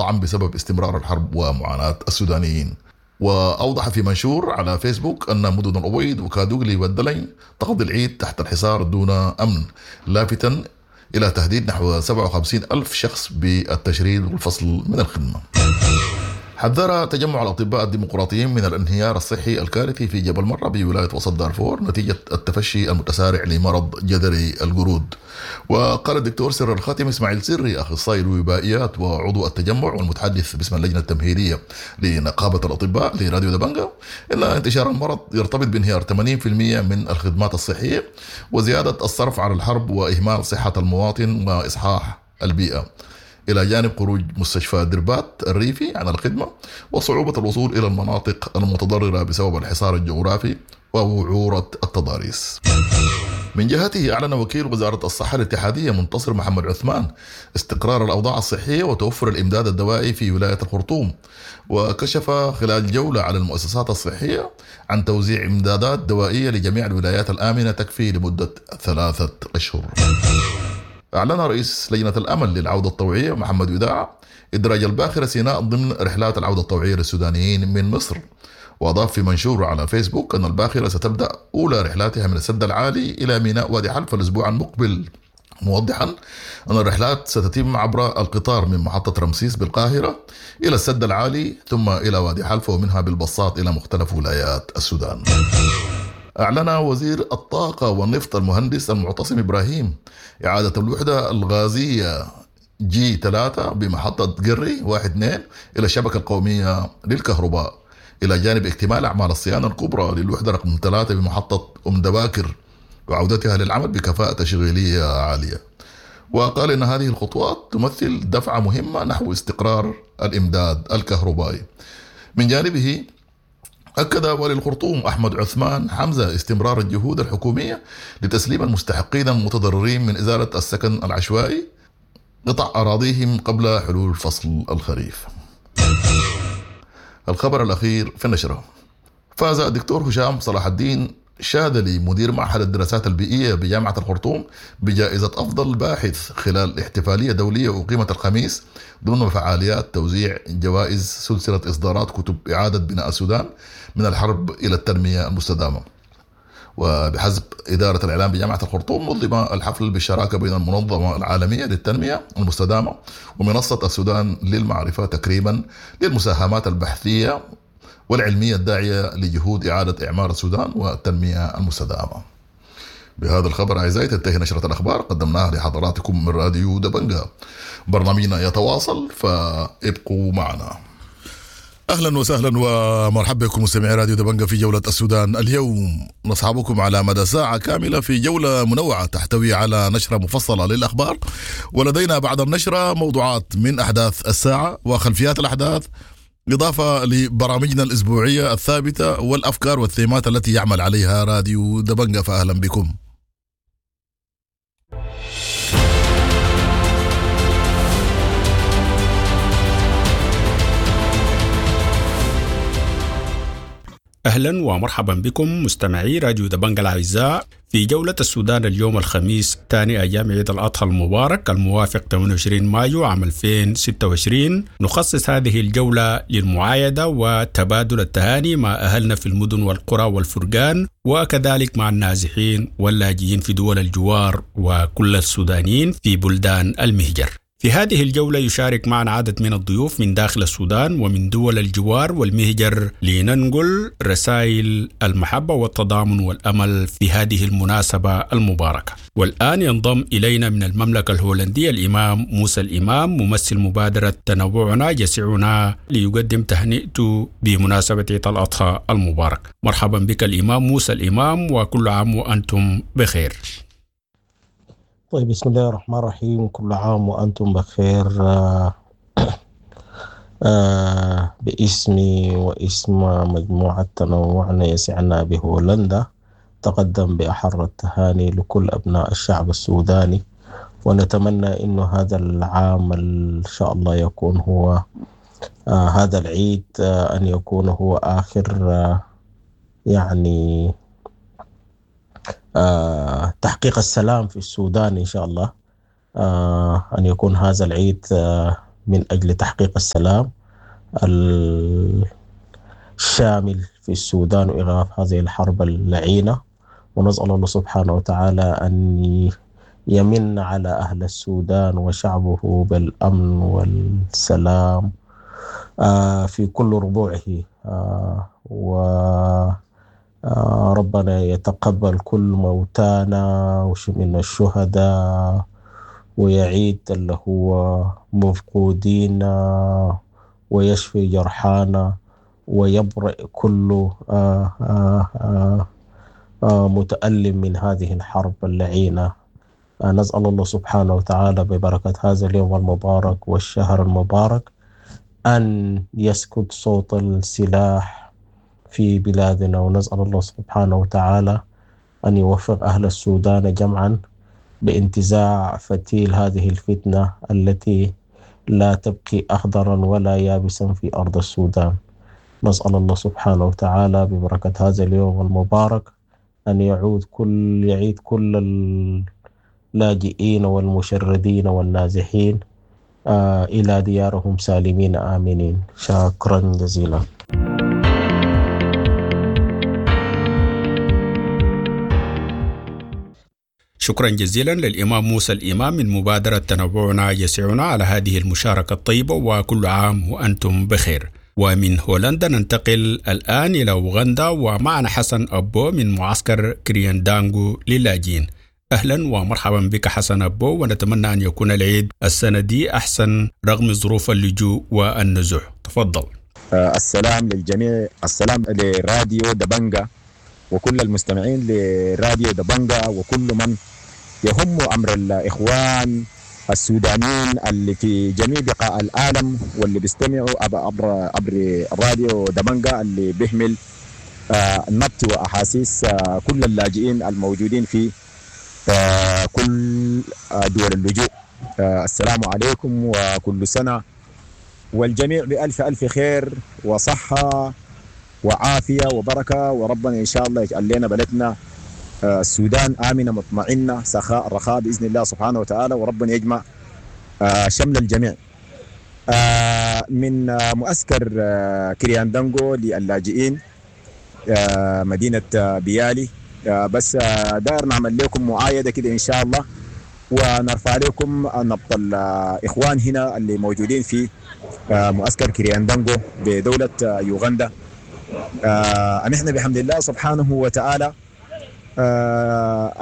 الطعم بسبب استمرار الحرب ومعاناة السودانيين. وأوضح في منشور على فيسبوك أن مدن الأبيض وكادوغلي والدلنج تقضي العيد تحت الحصار دون أمن، لافتا إلى تهديد نحو 57 ألف شخص بالتشريد والفصل من الخدمة. حذر تجمع الأطباء الديمقراطيين من الانهيار الصحي الكارثي في جبل مرة بولاية وسط دارفور نتيجة التفشي المتسارع لمرض جدري القرود. وقال الدكتور سر الخاتم إسماعيل سري أخصائي الوبائيات وعضو التجمع والمتحدث باسم اللجنة التمهيدية لنقابة الأطباء لراديو دبنجا إن انتشار المرض يرتبط بانهيار 80% من الخدمات الصحية وزيادة الصرف على الحرب وإهمال صحة المواطن وإصحاح البيئة، إلى جانب خروج مستشفى دربات الريفي عن الخدمة وصعوبة الوصول إلى المناطق المتضررة بسبب الحصار الجغرافي ووعورة التضاريس. من جهته أعلن وكيل وزارة الصحة الاتحادية منتصر محمد عثمان استقرار الأوضاع الصحية وتوفر الإمداد الدوائي في ولاية الخرطوم، وكشف خلال جولة على المؤسسات الصحية عن توزيع إمدادات دوائية لجميع الولايات الآمنة تكفي لمدة 3 أشهر. أعلن رئيس لجنة الأمل للعودة الطوعية محمد وداع إدراج الباخرة سيناء ضمن رحلات العودة الطوعية للسودانيين من مصر، وأضاف في منشور على فيسبوك أن الباخرة ستبدأ أولى رحلاتها من السد العالي إلى ميناء وادي حلفا الأسبوع المقبل، موضحا أن الرحلات ستتم عبر القطار من محطة رمسيس بالقاهرة إلى السد العالي ثم إلى وادي حلفا ومنها بالبساط إلى مختلف ولايات السودان. أعلن وزير الطاقة والنفط المهندس المعتصم إبراهيم إعادة الوحدة الغازية جي 3 بمحطة قري 1-2 إلى الشبكة القومية للكهرباء، إلى جانب اكتمال أعمال الصيانة الكبرى للوحدة رقم 3 بمحطة أم دباكر وعودتها للعمل بكفاءة تشغيلية عالية. وقال إن هذه الخطوات تمثل دفعة مهمة نحو استقرار الإمداد الكهربائي. من جانبه أكد والي الخرطوم أحمد عثمان حمزة استمرار الجهود الحكومية لتسليم المستحقين المتضررين من إزالة السكن العشوائي قطع أراضيهم قبل حلول فصل الخريف. الخبر الأخير في النشرة: فاز الدكتور هشام صلاح الدين شاذلي مدير معهد الدراسات البيئية بجامعة الخرطوم بجائزة أفضل باحث خلال احتفالية دولية أقيمت الخميس ضمن فعاليات توزيع جوائز سلسلة إصدارات كتب إعادة بناء السودان من الحرب إلى التنمية المستدامة. وبحسب إدارة الإعلام بجامعة الخرطوم نظم الحفل بالشراكة بين المنظمة العالمية للتنمية المستدامة ومنصة السودان للمعرفة تكريما للمساهمات البحثية والعلمية الداعية لجهود إعادة إعمار السودان والتنمية المستدامة. بهذا الخبر أعزائي تنتهي نشرة الأخبار قدمناها لحضراتكم من راديو دبنجا. برنامجنا يتواصل فابقوا معنا. أهلا وسهلا ومرحبا بكم مستمعي راديو دبنجا في جولة السودان اليوم. نصحبكم على مدى ساعة كاملة في جولة منوعة تحتوي على نشرة مفصلة للأخبار، ولدينا بعد النشرة موضوعات من أحداث الساعة وخلفيات الأحداث، إضافة لبرامجنا الأسبوعية الثابتة والأفكار والثيمات التي يعمل عليها راديو دبنجا. فأهلا بكم. أهلا ومرحبا بكم مستمعي راديو دبنجا الأعزاء في جولة السودان اليوم الخميس ثاني أيام عيد الأضحى المبارك الموافق 28 مايو عام 2026. نخصص هذه الجولة للمعايدة وتبادل التهاني مع أهلنا في المدن والقرى والفرقان، وكذلك مع النازحين واللاجئين في دول الجوار وكل السودانيين في بلدان المهجر. في هذه الجولة يشارك معنا عدد من الضيوف من داخل السودان ومن دول الجوار والمهجر لننقل رسائل المحبة والتضامن والأمل في هذه المناسبة المباركة. والآن ينضم إلينا من المملكة الهولندية الإمام موسى الإمام ممثل مبادرة تنوعنا يسعنا ليقدم تهنئته بمناسبة عيد الأضحى المبارك. مرحبا بك الإمام موسى الإمام، وكل عام وأنتم بخير. طيب، بسم الله الرحمن الرحيم. كل عام وأنتم بخير. باسمي واسم مجموعة تنوعنا يسعنا بهولندا تقدم بأحر التهاني لكل أبناء الشعب السوداني، ونتمنى إنه هذا العام إن شاء الله يكون هو هذا العيد أن يكون هو آخر يعني تحقيق السلام في السودان إن شاء الله، أن يكون هذا العيد من أجل تحقيق السلام الشامل في السودان وإيقاف هذه الحرب اللعينة. ونسأل الله سبحانه وتعالى أن يمن على أهل السودان وشعبه بالأمن والسلام في كل ربوعه، وربنا يتقبل كل موتانا من الشهداء، ويعيد اللي هو مفقودين، ويشفي جرحانا، ويبرئ كل متألم من هذه الحرب اللعينة. نسأل الله سبحانه وتعالى ببركة هذا اليوم المبارك والشهر المبارك أن يسكت صوت السلاح في بلادنا، ونسأل الله سبحانه وتعالى أن يوفق أهل السودان جمعا بانتزاع فتيل هذه الفتنة التي لا تبقي أخضرا ولا يابسا في أرض السودان. نسأل الله سبحانه وتعالى ببركة هذا اليوم المبارك أن يعيد كل اللاجئين والمشردين والنازحين إلى ديارهم سالمين آمنين. شكرا جزيلا. شكرا جزيلا للإمام موسى الإمام من مبادرة تنوعنا يسعنا على هذه المشاركة الطيبة، وكل عام وأنتم بخير. ومن هولندا ننتقل الآن إلى أوغندا، ومعنا حسن أبو من معسكر كرياندانغو للاجئين. أهلا ومرحبا بك حسن أبو، ونتمنى أن يكون العيد السنة دي أحسن رغم ظروف اللجوء والنزوح. تفضل. السلام للجميع، السلام لراديو دبنجا وكل المستمعين لراديو دبنجا وكل من يهم أمر الإخوان السودانيين اللي في جميع بقاع العالم واللي بيستمعوا عبر راديو دبنجا اللي بيحمل نبط وأحاسيس كل اللاجئين الموجودين في كل دول اللجوء. السلام عليكم وكل سنة والجميع بألف ألف خير وصحة وعافية وبركة، وربنا إن شاء الله يجعل لنا بلدنا السودان آمنة مطمئنة سخاء رخاء بإذن الله سبحانه وتعالى، وربنا يجمع شمل الجميع. من معسكر كرياندانغو للاجئين مدينة بيالي، بس داير نعمل لكم معايدة كده إن شاء الله، ونرفع لكم نبط الإخوان هنا اللي موجودين في معسكر كرياندانغو بدولة يوغندا. نحن بحمد الله سبحانه وتعالى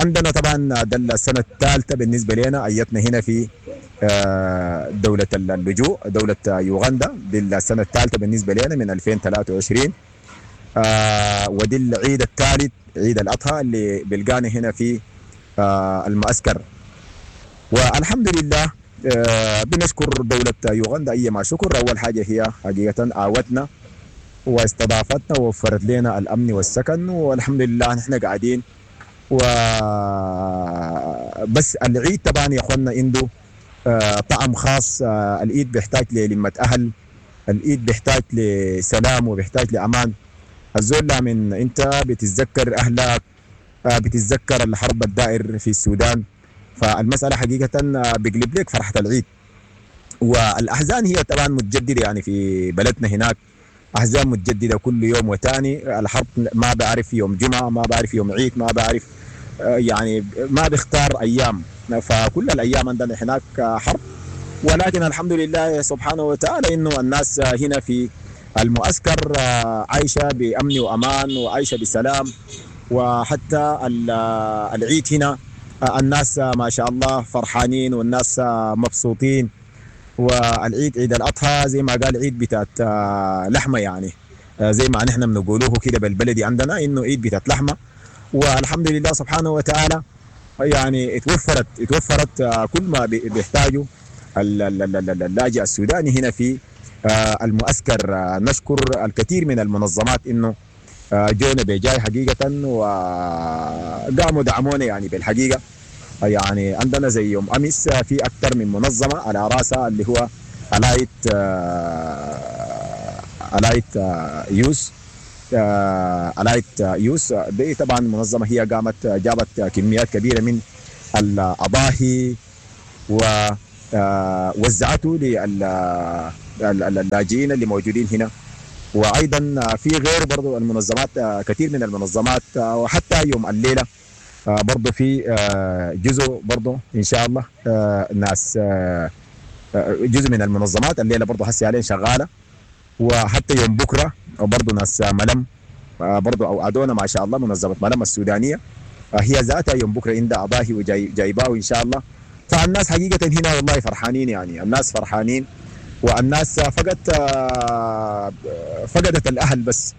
عندنا طبعا ده السنة الثالثة بالنسبة لنا، أيتنا هنا في دولة اللجوء دولة يوغندا، دي السنة الثالثة بالنسبة لنا من 2023، ودي العيد الثالث عيد الأضحى اللي بلقانا هنا في المعسكر. والحمد لله بنشكر دولة يوغندا أيما شكر. أول حاجة هي حقيقة آوتنا واستضافتنا ووفرت لنا الأمن والسكن، والحمد لله نحن قاعدين. وبس العيد طبعا يا اخواننا عنده طعم خاص. العيد بيحتاج للمة أهل، العيد بيحتاج لسلام وبيحتاج لأمان. الزول من انت بتتذكر أهلك، بتتذكر الحرب الدائر في السودان، فالمسألة حقيقة بيقلب لك فرحة العيد. والأحزان هي طبعا متجددة يعني في بلدنا هناك أحزان متجددة كل يوم وتاني. الحرب ما بعرف يوم جمعة، ما بعرف يوم عيد، ما بعرف يعني ما بيختار أيام، فكل الأيام عندنا هناك حرب. ولكن الحمد لله سبحانه وتعالى إنه الناس هنا في المعسكر عايشة بأمن وأمان وعايشة بسلام. وحتى العيد هنا الناس ما شاء الله فرحانين والناس مبسوطين. والعيد عيد الأضحى زي ما قال عيد بتاعت لحمة، يعني زي ما نحن بنقولوه كده بالبلدي عندنا إنه عيد بتاعت لحمة. والحمد لله سبحانه وتعالى يعني اتوفرت كل ما بيحتاجه اللاجئ السوداني هنا في المعسكر. نشكر الكثير من المنظمات إنه جونا بجاي حقيقة وقاموا دعمونا يعني بالحقيقة. يعني عندنا زي يوم أمس في أكثر من منظمة على رأسها اللي هو Allied Youth، Allied Youth دي طبعا منظمة هي قامت جابت كميات كبيرة من الأضاحي وزعته للاجئين اللي موجودين هنا. وايضا في غير برضو المنظمات، كثير من المنظمات، وحتى يوم الليلة برضو في جزء برضو ان شاء الله ناس جزء من المنظمات الليلة برضو هسه عليه شغالة، وحتى يوم بكره برضو ناس ملم برضو اوعدونا ما شاء الله، منظمة ملم السودانية هي ذاتها يوم بكره عندها اضاحي وجايباه ان شاء الله. فالناس حقيقة هنا والله فرحانين، يعني الناس فرحانين، والناس فقدت الاهل، بس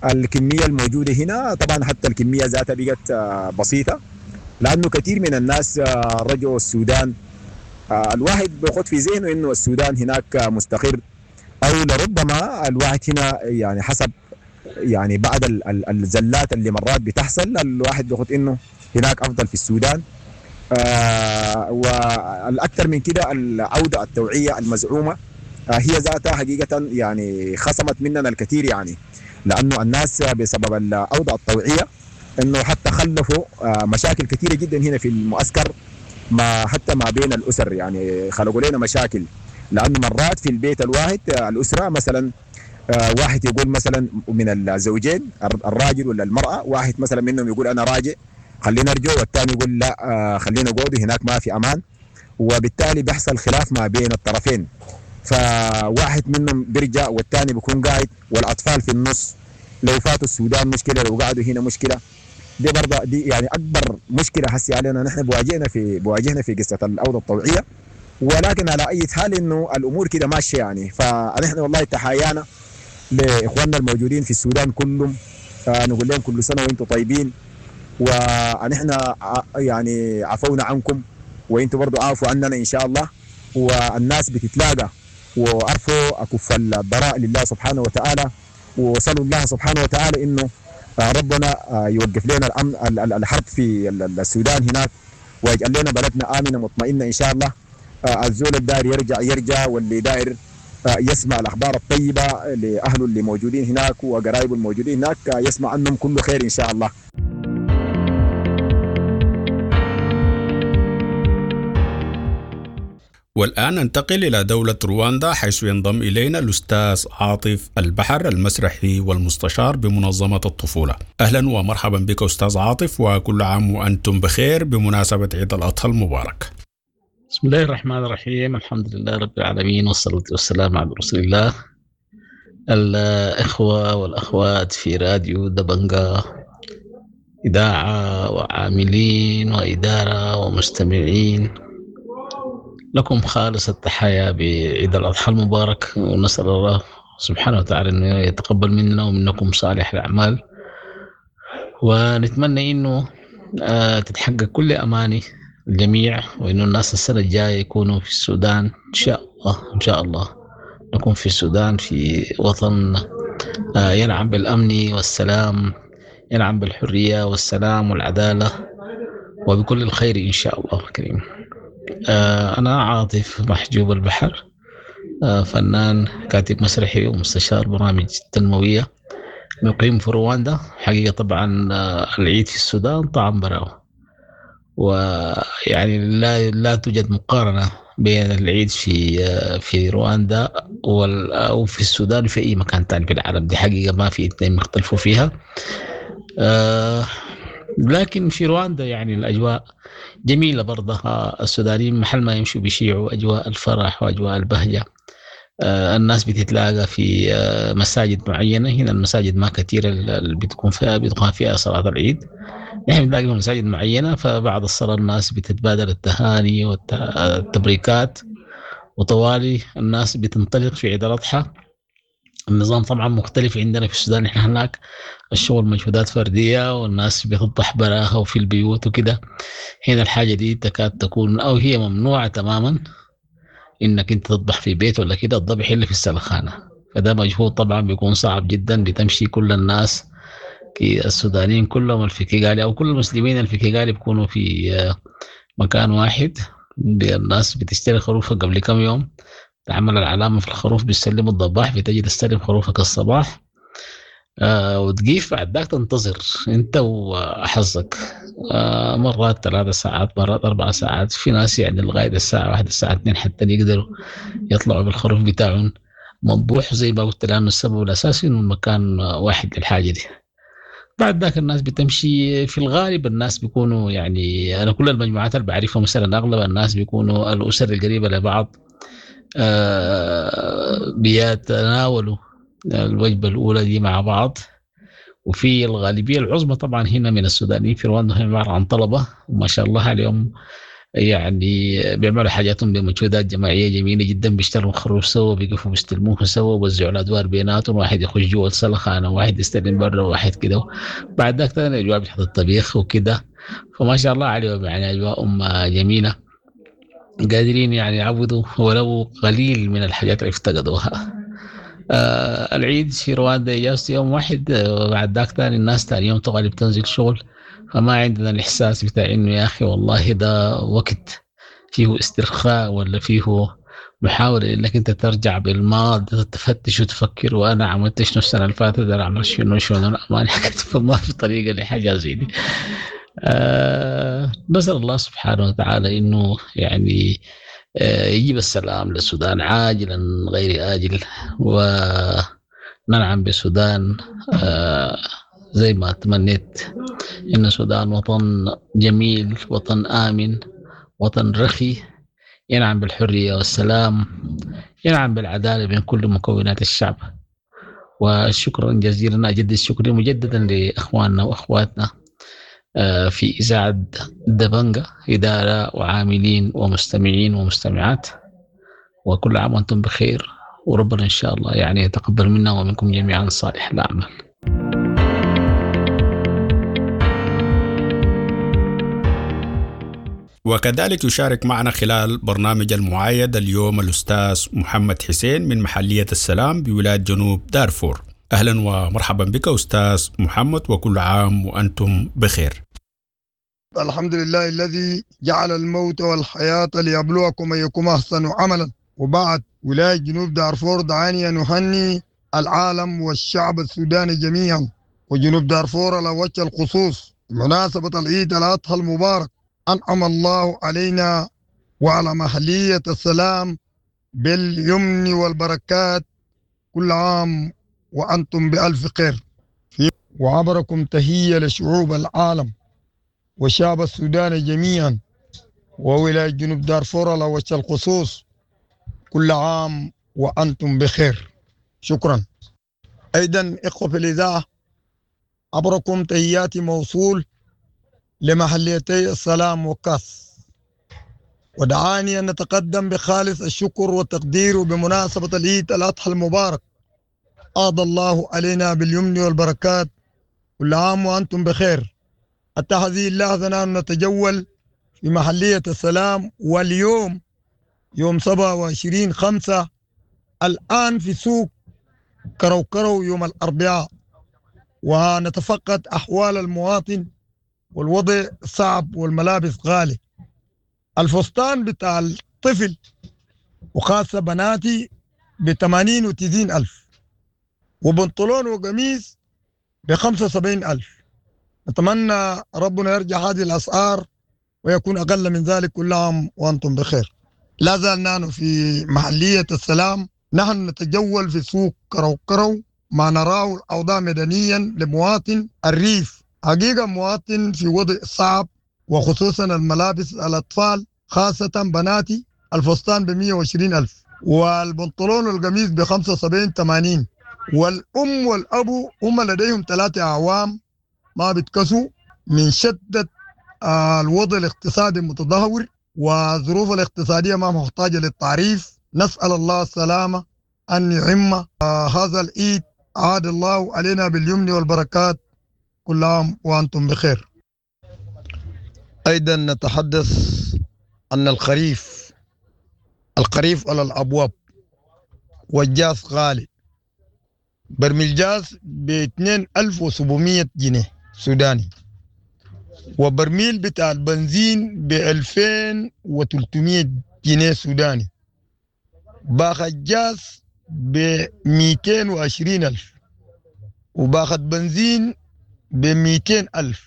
الكمية الموجودة هنا طبعا حتى الكمية ذاتها بقت بسيطة، لانه كثير من الناس رجعوا السودان. الواحد بياخد في ذهنه انه السودان هناك مستقر، او لربما الواحد هنا يعني حسب يعني بعد الزلات اللي مرات بتحصل الواحد بياخد انه هناك افضل في السودان. والاكثر من كده العودة التوعية المزعومة هي ذاتها حقيقة يعني خصمت مننا الكثير، يعني لانه الناس بسبب العودة الطوعيه انه حتى خلفوا مشاكل كثيرة جدا هنا في المعسكر، ما حتى ما بين الاسر، يعني خلقوا لنا مشاكل، لانه مرات في البيت الواحد الاسرة مثلا واحد يقول مثلا من الزوجين الراجل ولا المراة، واحد مثلا منهم يقول انا راجع خلينا نرجع، والثاني يقول لا خلينا نقعد هناك ما في امان، وبالتالي بيحصل خلاف ما بين الطرفين، فواحد منهم بيرجع والثاني بيكون قاعد، والاطفال في النص، لو فاتوا السودان مشكلة، لو قعدوا هنا مشكلة. دي برضه دي يعني اكبر مشكلة هسي علينا نحن بواجهنا في قصة العودة الطوعيه، ولكن على اي حال انه الامور كده ماشية يعني. فنحن والله تحايانا لاخواننا الموجودين في السودان كلهم، نقول لهم كل سنة وانتم طيبين، ونحن يعني عفونا عنكم وانتم برضو عافوا عننا ان شاء الله. والناس بتتلاقى، وعرفوا اكف الضراء لله سبحانه وتعالى، وصلوا الله سبحانه وتعالى انه ربنا يوقف لنا الامن الحرب في السودان هناك، ويجعل لنا بلدنا امنه مطمئنة ان شاء الله. الزول الداير يرجع يرجع، واللي داير يسمع الاخبار الطيبة لاهله اللي موجودين هناك وقرايبه الموجودين هناك يسمع عنهم كل خير ان شاء الله. والآن ننتقل إلى دولة رواندا، حيث ينضم إلينا الأستاذ عاطف البحر المسرحي والمستشار بمنظمة الطفولة. أهلا ومرحبا بك أستاذ عاطف، وكل عام وأنتم بخير بمناسبة عيد الأضحى المبارك. بسم الله الرحمن الرحيم، الحمد لله رب العالمين، والصلاة والسلام على رسول الله. الإخوة والأخوات في راديو دبنجا، إذاعة وعاملين وإدارة ومستمعين، لكم خالص التحايا بعيد الأضحى المبارك، ونسأل الله سبحانه وتعالى أنه يتقبل منا ومنكم صالح الأعمال، ونتمنى أنه تتحقق كل أماني الجميع، وأنه الناس السنة الجاية يكونوا في السودان إن شاء الله. إن شاء الله نكون في السودان، في وطن ينعم بالأمن والسلام، ينعم بالحرية والسلام والعدالة وبكل الخير إن شاء الله الكريم. أنا عاطف محجوب البحر، فنان، كاتب مسرحي ومستشار برامج تنموية، مقيم في رواندا. حقيقة طبعا العيد في السودان طعم براو، ويعني لا توجد مقارنة بين العيد في رواندا أو في السودان وفي أي مكان تاني في العالم. دي حقيقة ما في اثنين مختلفوا فيها. لكن في رواندا يعني الأجواء جميلة برضها، السودانيين محل ما يمشوا بيشيعوا أجواء الفرح وأجواء البهجة. الناس بتتلاقى في مساجد معينة. هنا المساجد ما كثيرة اللي بتكون فيها بتقام فيها صلاة العيد، نحن بنلاقي في مساجد معينة، فبعد الصلاة الناس بتتبادل التهاني والتبريكات، وطوالي الناس بتنطلق في عيد الأضحى. النظام طبعا مختلف عندنا في السودان، احنا هناك الشغل مجهودات فردية والناس بتضح براها وفي البيوت وكده. هنا الحاجة دي تكاد تكون أو هي ممنوعة تماما، إنك أنت تذبح في بيت ولا كده، الذبح اللي في السلخانة، فده مجهود طبعا بيكون صعب جدا. بتمشي كل الناس السودانيين كلهم في كيغالي أو كل المسلمين اللي في كيغالي بيكونوا في مكان واحد. الناس بتشتري خروفها قبل كم يوم، تعمل العلامة في الخروف، بيسلموا الضباح، بتجي تستلم خروفك الصباح. وتقيف بعد ذاك تنتظر انت وحظك، مرات 3 ساعات، مرات 4 ساعات، في ناس يعني لغاية الساعة 1 الساعة 2 حتى يقدروا يطلعوا بالخروف بتاعهم مذبوح زي ما قلت، لأنه السبب الأساسي إنه المكان واحد للحاجة دي. بعد ذاك الناس بتمشي، في الغالب الناس بيكونوا يعني أنا كل المجموعات اللي بعرفها مثلا أغلب الناس بيكونوا الأسر القريبة لبعض، بيتناولوا الوجبة الأولى دي مع بعض. وفي الغالبية العظمى طبعا هنا من السودانيين في رواندا هم عبارة عن طلبة، وما شاء الله عليهم يعني بيعملوا حاجاتهم بمجهودات جماعية جميلة جدا، بيشتروا خروف سوا، بيقفوا بيستلموه سوا، بيوزعوا الأدوار بيناتهم، واحد يخش جوا السلخانة وواحد يستلم برا وواحد كده. بعد ذاك تاني أجواء بتاعت الطبيخ وكده، فما شاء الله عليهم يعني أجواء جميلة، قادرين يعني يعوضوا ولو قليل من الحاجات اللي افتقدوها. العيد في رواندا إجازة يوم واحد، بعد ذاك تاني الناس تاني يوم تغالب تنزل شغل، فما عندنا الإحساس بتاع إنه يا أخي والله ده وقت فيه استرخاء ولا فيه محاولة إنك أنت ترجع بالماضي تفتش وتفكر وأنا عملت شنو السنة اللي فاتت، أنا عملت شنو شنو، أنا ما ما في طريقة لحاجة زي دي. نسأل الله سبحانه وتعالى إنه يعني يجيب السلام للسودان عاجلا غير آجل، وننعم بالسودان زي ما تمنيت، إن السودان وطن جميل، وطن آمن، وطن رخي، ينعم بالحرية والسلام، ينعم بالعدالة بين كل مكونات الشعب. وشكرا جزيلا، أجدد شكري مجددا لإخواننا وأخواتنا في إذاعة دبنجة، إدارة وعاملين ومستمعين ومستمعات، وكل عام وأنتم بخير، وربنا إن شاء الله يعني يتقبل منا ومنكم جميعا صالح الأعمال. وكذلك يشارك معنا خلال برنامج المعايدة اليوم الأستاذ محمد حسين من محلية السلام بولاية جنوب دارفور. أهلا ومرحبا بك أستاذ محمد، وكل عام وأنتم بخير. الحمد لله الذي جعل الموت والحياة ليبلوكم أيكم أحسن عملا. وبعد، ولاية جنوب دارفور دعاني أن أهني العالم والشعب السوداني جميعا وجنوب دارفور على وجه الخصوص بمناسبة العيد الأضحى المبارك. أنعم الله علينا وعلى محلية السلام باليمن والبركات. كل عام وأنتم بألف خير. وعبركم تحية لشعوب العالم والشعب السوداني جميعا وولاية جنوب دارفور على وجه الخصوص. كل عام وأنتم بخير. شكرا. أيضا إخوة في الإذاعة، عبركم تحياتي موصول لمحليتي السلام وكاس، ودعاني أن نتقدم بخالص الشكر والتقدير بمناسبة العيد الأضحى المبارك. أعضى الله علينا باليمن والبركات. كل عام وأنتم بخير. حتى هذه اللحظة نحن نتجول في محلية السلام، واليوم يوم 27/5 الآن في سوق كرو كرو يوم الأربعاء، ونتفقد أحوال المواطن، والوضع صعب والملابس غالي. الفستان بتاع الطفل وخاصة بناتي ب80 و90 ألف، وبنطلون وقميص ب75 ألف. نتمنى ربنا يرجع هذه الأسعار ويكون أقل من ذلك. كل عام وأنتم بخير. لا زال نحن في محلية السلام، نحن نتجول في سوق كرو كرو، ما نراه الأوضاع مدنيا لمواطن الريف. حقيقة مواطن في وضع صعب، وخصوصا الملابس الأطفال، خاصة بناتي الفستان ب120 ألف، والبنطلون والقميص ب75 80. والأم والأبو هم لديهم 3 أعوام ما بيتكسوا من شدة الوضع الاقتصادي المتدهور والظروف الاقتصادية ما محتاجة للتعريف. نسأل الله السلامة أن يعم هذا العيد. عاد الله علينا باليمن والبركات. كل عام وأنتم بخير. أيضا نتحدث أن الخريف على الأبواب، والجاز غالي. برميل جاز ب 2700 جنيه سوداني، وبرميل بتاع البنزين ب 2300 جنيه سوداني، باخ الجاز ب 220 ألف، وباخد بنزين ب200 ألف،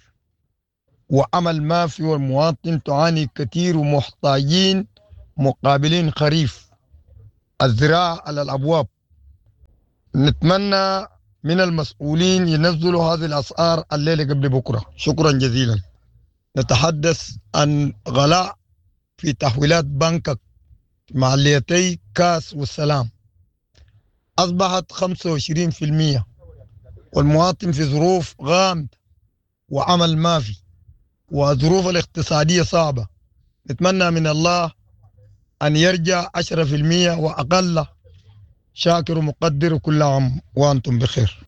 وعمل ما في، والمواطن تعاني كثير ومحتاجين مقابلين خريف الزراعة على الأبواب. نتمنى من المسؤولين ينزلوا هذه الأسعار الليلة قبل بكرة. شكرا جزيلا. نتحدث عن غلاء في تحويلات بنكك معليتي كاس والسلام أصبحت 25%، والمواطن في ظروف غامضة وعمل ما في، وظروف الاقتصادية صعبة. نتمنى من الله أن يرجع 10% وأقل. شاكر ومقدر، كل عام وأنتم بخير.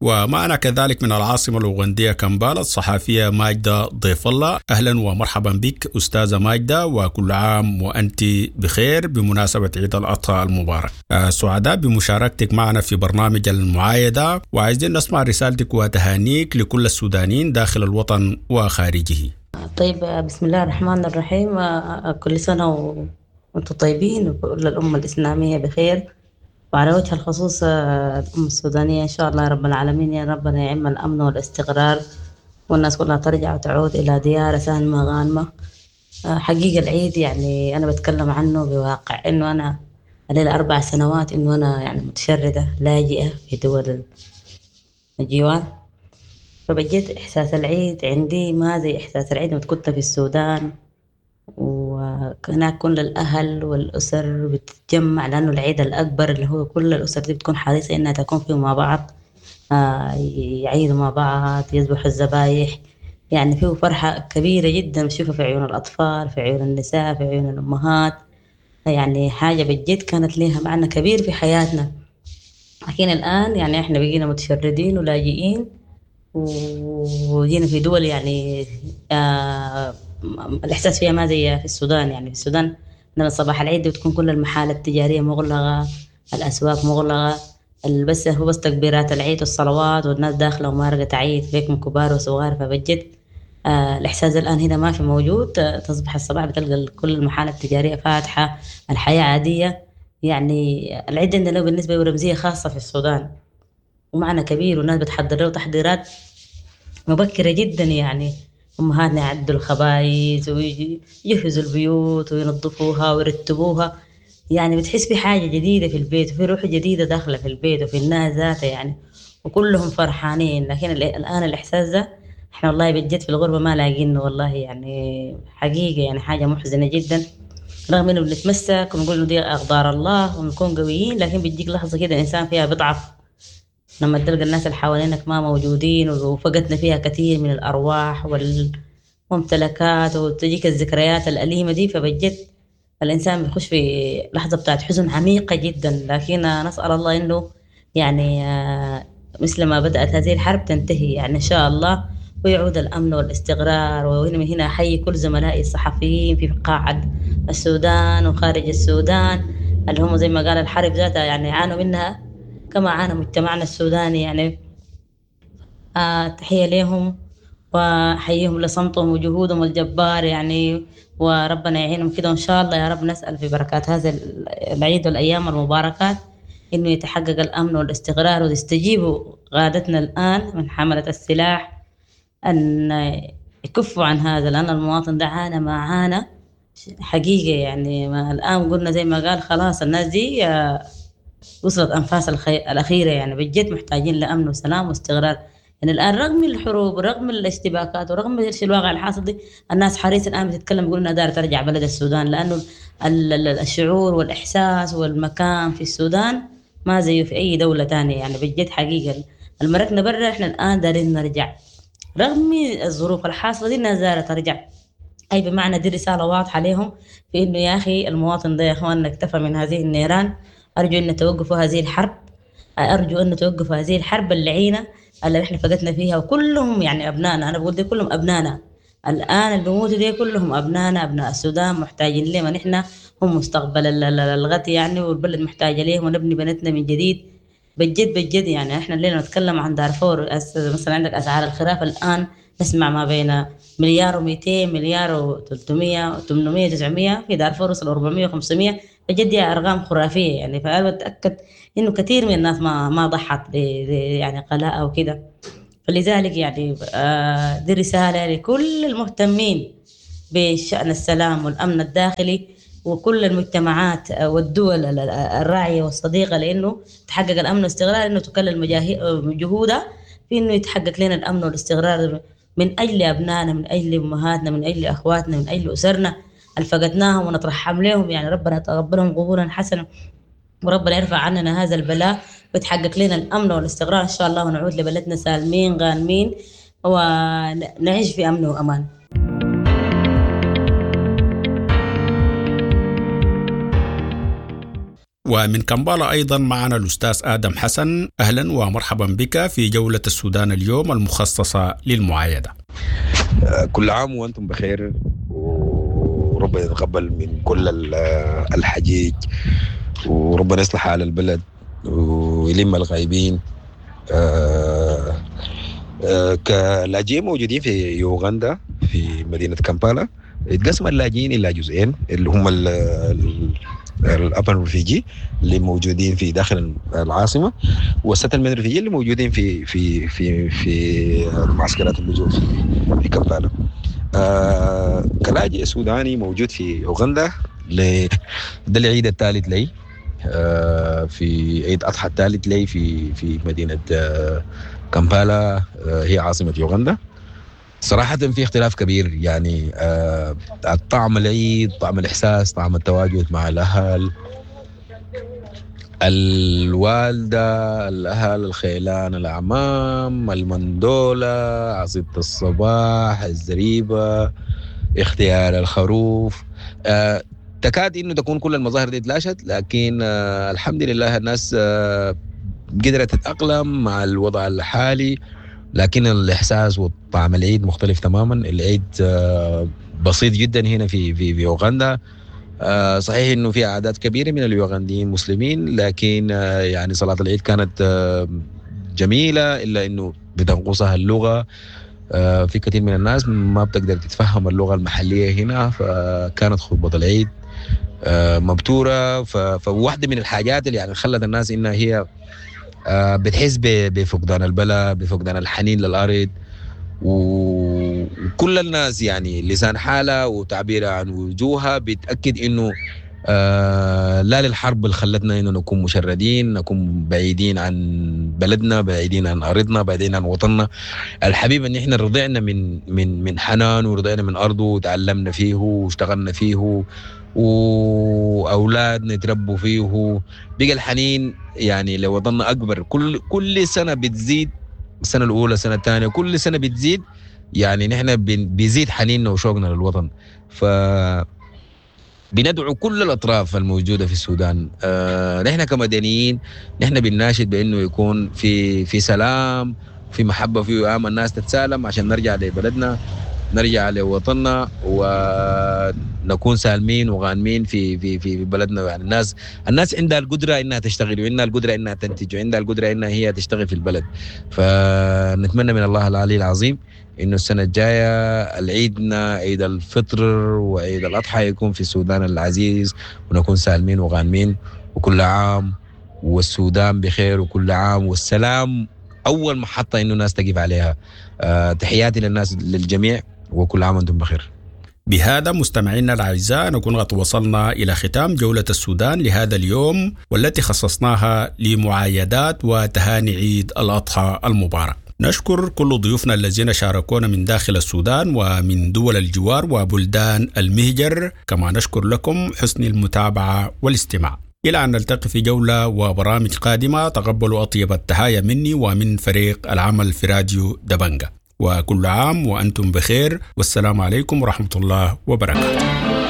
ومعنا كذلك من العاصمة الأوغندية كمبالا الصحفية ماجدة ضيف الله. أهلا ومرحبا بك أستاذة ماجدة، وكل عام وأنت بخير بمناسبة عيد الأضحى المبارك. سعداء بمشاركتك معنا في برنامج المعايدة، وعايزين نسمع رسالتك وتهانيك لكل السودانيين داخل الوطن وخارجه. طيب، بسم الله الرحمن الرحيم. كل سنة وأنتم طيبين وكل الأمة الإسلامية بخير، وعلى وجه الخصوص الأمة السودانية. إن شاء الله رب العالمين يا ربنا يعم الأمن والاستقرار، والناس كلها ترجع وتعود إلى ديارها سالمة غانمة. حقيقة العيد يعني أنا بتكلم عنه بواقع إنه أنا علي 4 سنوات إنه أنا يعني متشردة لاجئة في دول الجوار، فبجد إحساس العيد عندي ما زي إحساس العيد لما كنت في السودان، وهناك كل الأهل والأسر بتتجمع، لأنه العيد الأكبر اللي هو كل الأسر دي بتكون حريصة إنها تكون فيه مع بعض، يعيدوا مع بعض، يذبحوا الذبايح. يعني فيه فرحة كبيرة جدا بتشوفها في عيون الأطفال، في عيون النساء، في عيون الأمهات. يعني حاجة بجد كانت لها معنى كبير في حياتنا. لكن الآن يعني إحنا بقينا متشردين ولاجئين وجينا في دول يعني الإحساس فيها ما زي في السودان. يعني في السودان لما صباح العيد بتكون كل المحال التجارية مغلقة، الأسواق مغلقة، بس هو بس تكبيرات العيد والصلوات، والناس داخلة ومارقة تعيد فيكم كبار وصغار. فبجد الإحساس الآن هنا ما في موجود. تصبح الصباح بتلقى كل المحال التجارية فاتحة، الحياة عادية. يعني العيد عندنا بالنسبة له رمزية خاصة في السودان ومعنى كبير، والناس بتحضر له تحضيرات مبكرة جدا. يعني أمهاتنا يعدوا الخبايز ويجهزوا البيوت وينظفوها ويرتبوها. يعني بتحس في حاجة جديدة في البيت، وفي روح جديدة داخلة في البيت وفي الناس ذاتها يعني، وكلهم فرحانين. لكن الآن الإحساس ده إحنا والله بجد في الغربة ما لاقينه والله، يعني حقيقة يعني حاجة محزنة جدا، رغم إنه بنتمسك ونقول إنه دي أقدار الله ونكون قويين، لكن بتجيك لحظة كده الإنسان فيها بيضعف لما تلقى الناس اللي حوالينك ما موجودين، وفقدنا فيها كثير من الأرواح والممتلكات، وتجيك الذكريات الأليمة دي. فبجد الإنسان بيخش في لحظة بتاعت حزن عميقة جدا. لكن نسأل الله إنه يعني مثل ما بدأت هذه الحرب تنتهي يعني إن شاء الله، ويعود الأمن والاستقرار. وهنا من هنا أحيي كل زملائي الصحفيين في قاعة السودان وخارج السودان، اللي هم زي ما قال الحرب ذاتها يعني عانوا منها كما عانى مجتمعنا السوداني. يعني تحية لهم وأحييهم لصمتهم وجهودهم الجبار يعني، وربنا يعينهم كده. وإن شاء الله يا رب نسأل في بركات هذا العيد والأيام المباركات إنه يتحقق الأمن والاستقرار، ويستجيبوا قادتنا الآن من حملة السلاح أن يكفوا عن هذا، لأن المواطن ده عانى ما عانى حقيقة. يعني ما الآن قلنا زي ما قال خلاص الناس دي وصلت أنفاس الأخيرة، يعني بجد محتاجين لأمن وسلام واستقرار. يعني الآن رغم الحروب ورغم الاشتباكات ورغم الواقع الحاصل دي، الناس حريصة الآن بتتكلم، بيقولوا إنها دايرة ترجع بلد السودان، لأنه الشعور والإحساس والمكان في السودان ما زيه في أي دولة تانية. يعني بجد حقيقة المركنا برا، إحنا الآن دارين نرجع رغم الظروف الحاصلة دي، الناس دايرة ترجع. أي بمعنى دي رسالة واضحة لهم في إنه يا أخي المواطن ده يا إخواننا اكتفى من هذه النيران. أرجو أن توقفوا هذه الحرب، أرجو أن توقفوا هذه الحرب اللعينة اللي إحنا فقدنا فيها، وكلهم يعني أبنائنا. أنا بقول دي كلهم أبنائنا الآن اللي بيموتوا دي كلهم أبنائنا، أبناء السودان، محتاجين لهم. نحن هم مستقبل الغد يعني، والبلد محتاجة ليهم، ونبني بلدنا من جديد بجد بجد. يعني احنا الليلة نتكلم عن دارفور، مثلا عندك أسعار الخراف الآن نسمع ما بين 1.2 مليار، 1.3 مليار، 800، 900، في دارفور وصل 400 و500. بجد ارقام خرافية يعني. فانا بتاكد انه كثير من الناس ما ضحت يعني قلاء او كده. فلذلك يعني دي رسالة لكل المهتمين بشأن السلام والأمن الداخلي وكل المجتمعات والدول الراعية والصديقة، لأنه تحقق الأمن والاستقرار، إنه تكلل جهودها في إنه يتحقق لنا الأمن والاستقرار من أجل أبنائنا، من أجل أمهاتنا، من أجل أخواتنا، من أجل أسرنا اللي فقدناهم ونترحم لهم. يعني ربنا يتقبلهم قبولا حسنا، وربنا يرفع عننا هذا البلاء ويتحقق لنا الأمن والاستقرار إن شاء الله، ونعود لبلدنا سالمين غانمين ونعيش في أمن وأمان. ومن كمبالا أيضا معنا الأستاذ آدم حسن، أهلا ومرحبا بك في جولة السودان اليوم المخصصة للمعايدة. كل عام وأنتم بخير، وربنا يتقبل من كل الحجيج، وربنا يصلح حال البلد ويلم الغايبين. كلاجئين موجودين في يوغندا في مدينة كامبالا، اتقسم اللاجئين إلى جزئين، اللي هم ال urban refugee اللي موجودين في داخل العاصمة، وال settlement refugee اللي موجودين في في في في معسكرات اللجوء في كامبالا. كلاجئ سوداني موجود في اوغندا، ده العيد الثالث لي، في عيد اضحى الثالث لي في مدينة كامبالا، هي عاصمة يوغندا. صراحة في اختلاف كبير، يعني طعم العيد، طعم الإحساس، طعم التواجد مع الأهل، الوالدة، الأهل، الخيلان، الأعمام، المندولة، عصيدة الصباح، الزريبة، اختيار الخروف. تكاد إنه تكون كل المظاهر دي اتلاشت، لكن الحمد لله الناس قدرت تتأقلم مع الوضع الحالي، لكن الإحساس وطعم العيد مختلف تماما. العيد بسيط جدا هنا في في في أوغندا. صحيح إنه في أعداد كبيرة من اليوغنديين مسلمين، لكن يعني صلاة العيد كانت جميلة، إلا إنه بتنقصها اللغة. في كثير من الناس ما بتقدر تتفهم اللغة المحلية هنا، فكانت خطبة العيد مبتورة. فواحدة من الحاجات اللي يعني خلت الناس إنها هي بتحس بفقدان البلد، بفقدان الحنين للأرض، وكل الناس يعني لسان حالها وتعبيرها عن وجوهها بتأكد إنه لا للحرب اللي خلتنا إنه نكون مشردين، نكون بعيدين عن بلدنا، بعيدين عن أرضنا، بعيدين عن وطننا الحبيب، إن إحنا رضعنا من من من حنان، ورضعنا من أرضه، وتعلمنا فيه واشتغلنا فيه، واولادنا يتربوا فيه. بقى الحنين يعني لوطننا اكبر، كل سنة بتزيد، السنة الاولى، السنة الثانية، كل سنة بتزيد، يعني نحن بيزيد حنيننا وشوقنا للوطن. ف بندعو كل الاطراف الموجودة في السودان، نحن كمدنيين نحن بنناشد بانه يكون في سلام، في محبة، في وئام، الناس تتسالم عشان نرجع لبلدنا، نرجع لوطننا، ونكون سالمين وغانمين في في في بلدنا. يعني الناس عندها القدرة انها تشتغل، وعندها القدرة انها تنتج، وعندها القدرة انها هي تشتغل في البلد. فنتمنى من الله العلي العظيم انه السنة الجاية العيدنا عيد الفطر وعيد الاضحى يكون في السودان العزيز، ونكون سالمين وغانمين، وكل عام والسودان بخير، وكل عام والسلام اول محطة انه الناس تقف عليها. تحياتي للناس للجميع، وكل عام وانتم بخير. بهذا مستمعينا الاعزاء نكون قد وصلنا الى ختام جولة السودان لهذا اليوم، والتي خصصناها لمعايدات وتهاني عيد الاضحى المبارك. نشكر كل ضيوفنا الذين شاركونا من داخل السودان ومن دول الجوار وبلدان المهجر، كما نشكر لكم حسن المتابعة والاستماع. إلى أن نلتقي في جولة وبرامج قادمة، تقبلوا أطيب التحايا مني ومن فريق العمل في راديو دبنجة، وكل عام وأنتم بخير، والسلام عليكم ورحمة الله وبركاته.